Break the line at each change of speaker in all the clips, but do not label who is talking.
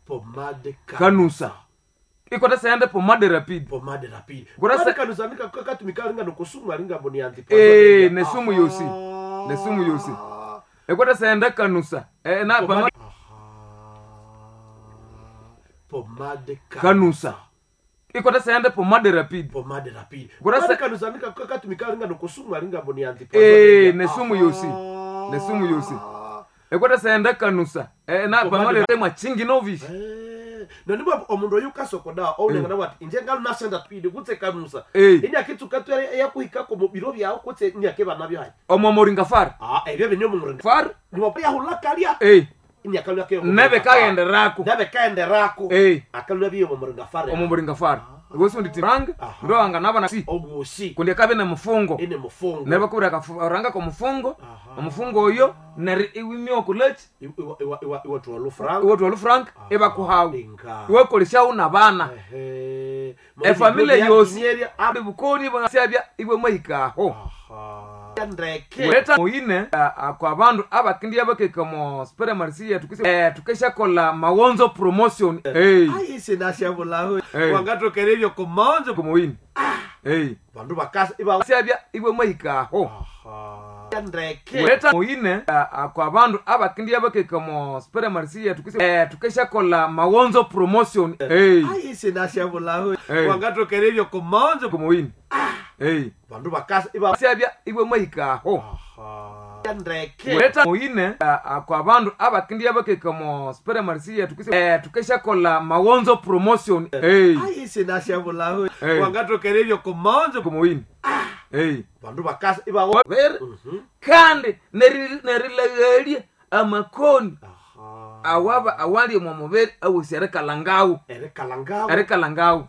Pomade
Kanusa. Ikwata sende pomade rapide.
Pomade rapide.
Kurasa-
Pomade kanusa nika katumika ringa nokusumu aringa mboni anti.
Eh, nesumu yosi. Nesumu yosi. Ikwata sende kanusa. Na
Pomade.
pomade
Pomade
kanusa. Ikwata sende pomade rapide.
Pomade rapide.
Kurasa-
Pomade kanusa nika katumika ringa nokusumu aringa mboni anti.
Nesumu yosi. Nesumu yosi. Ikwata sende kanusa. Na
Pomade
pomade temwa chingi novish.
Nonibwa omundu oyu kasokoda ounengana wati inje ngalu nasenda pidi kutse kanusa. Inyakitsuka twere yakuhikako mu biro byawo kutse inyakeba nabyo hayi.
Omo moringa far.
Ebyo binyo mu
Far.
Niwapya kalya. Inyakalya ke.
Nebe kagenderako.
Nebe kaenderako. Akalya biyo mu muringa fare.
Omo moringa far. Gosi ndi tiranga.
Aha.
Ndo anga nabana si.
Obusi.
Kundi kabe na mufungo.
Ine mufungo.
Nebe kubira ranga ko mufungo.
Aha.
Omufungo oyo neri iwimyo kulech.
Iwa iwa iwa iwa tuwalu frank.
Iwe twalo frank ebakuhawu.
Inga.
Iwe koleshawu na bana.
Ehe.
Efamile yosi.
Nyeria.
Abi bukoni bwasyabya iwe mahikaho.
Aha. Ndeke.
Leta moine kwa bandu abakindi abakeka mo supermarket tukise tukeshakola mawonzo promotion.
Ayi sinashabulaho. Wangatokere komanzo.
Kumoine.
Bandu bakasa iba
Syabya iwe mahikaho.
Aha. Ndeke.
Leta moine kwa bandu abakindi abakeka mo supermarket tukise tukeshakola mawonzo promotion.
Ayi sinashabulaho. Wangatokere komanzo.
Kumoine.
Bandu bakasa iba
Syabya iwe mahikaho.
Aha. Ndeke.
Leta moine kwa bandu abakindi abakeka mo supermarket tukise tukeshakola mawonzo promotion.
Ayi sinashabulaho. Wangatokere komanzo.
Kumoine.
Bandu bakasa iba
Ver kandi nerilegelie amakoni
Aha.
awaba awali mwa mubiri awusi erikalangawu
Erikalangawu.
erikalangawu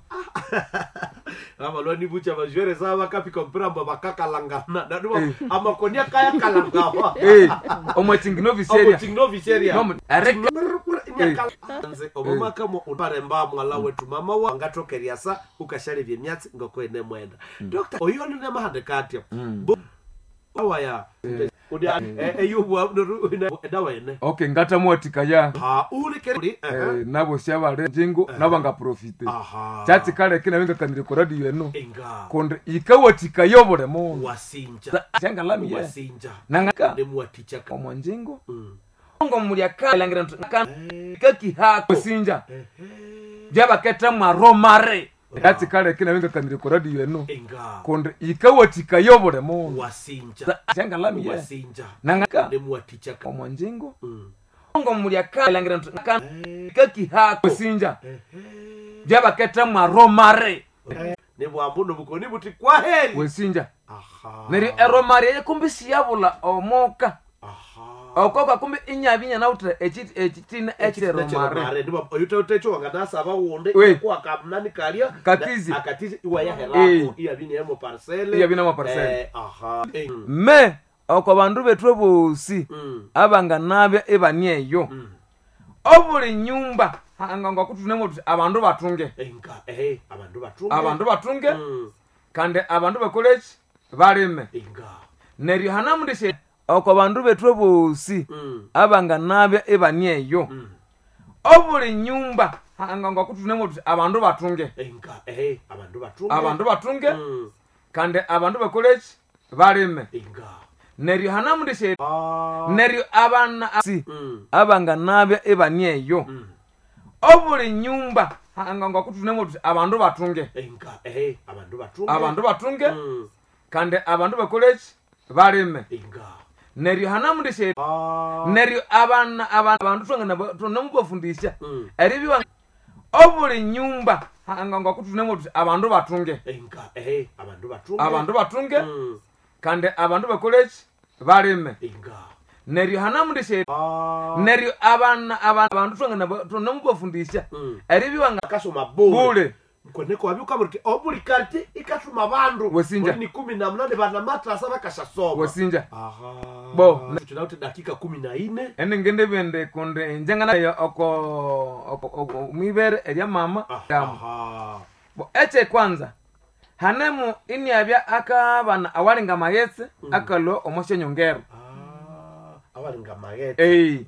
Abalwani bucha bajwere za bakapika mpira mba bakakalangana. Nadu amakoni akaya kalangawa.
Omwachinginoviseria
Omuchingnoviseria.
erika
Nze omumaka mo uparemba mwala wetu mama wa ngatokeria sa ukashalevya emyatsi ngokwene mwenda. Dr. Oyo nune mahande katya. Awaya. Udi eyubwa edawa ene.
Okay ngatamuwatikaya
Ha ulikeri.
nabo syabale njingo nabangaprofite
Aha.
kyatsikale nabengakanire ku radio eno
Inga.
kundi yikawathikaya obuli mundu
Wasinja.
syangalamiye
Wasinja.
nangaka
Nemuwatichaka.
omwanjingo ngo mulya kalangira kakihako sinja byabaketa mwaromare yatsikale nabengakanire ku radio eno
Inga.
kundi yikawathikaya obuli mundu
Wasinja.
syangalamiye
Wasinja.
nangaka
Nemuwatichaka.
omwanjingo ngo mulya kalangira kakihako sinja byabaketa mwaromare
Nebwambu nobukoni buti kwaheri.
wesinja
Aha.
neryo eromare yekumbi siyabula omoka
Aha.
okoka kumbi inyabinya nawutha ekitina ekyeromare
oyutautecho wanganasaba wunde
We.
kwakamnani kalya
Katizi.
akatizi iwayaherako iyabine parcele
Iyabine mo parcele.
Aha.
Me oko bandu bethu bosi abanganabya ebani eyo obuli nyumba hanga kuthunemo tuthi abandu batunge
Inga abandu batunge
abandu batunge kandi abandu bakoleki balime
Inga.
neryo hanamundishe oko bandu bethu bosi abanganabya ebani eyo obuli nyumba hanga kuthunemo tuthi abandu batunge
Inga abandu batunge
abandu batunge kandi abandu bakoleki balime
Inga.
neryo hanamundishe
Ah.
neryo abana si abanganabya ebani eyo obuli nyumba hanga kuthunemo tuthi abandu batunge
Inga abandu batunge
abandu batunge kandi abandu bakoleki balime
Inga.
neryo hanamundishe
Ah.
neryo abana abandu tunamubafundisha eribiwa obuli nyumba hanga kuthunemo tuthi abandu batunge
Inga abandu batunge
abandu batunge kandi abandu bakoleki balime
Inga.
neryo hanamundishe
Ah.
neryo abana abandu tunamubafundisha eribiwa
Akasoma bule.
bule
Koneko wabyuka buti obuli karti ikatuma bandu.
Wesinja.
Muri ni 18 bana matrasa bakashasoma.
wesinja
Aha.
Bo.
Tunauti dakika 14.
enengende bende kundi njengana oko oko mwibere erya mama yamu
Aha.
bo eche kwanza hanemu iniabya akabana awalinga maghetse akalwa omoshenyongero
Ah, awalinga magete.
ei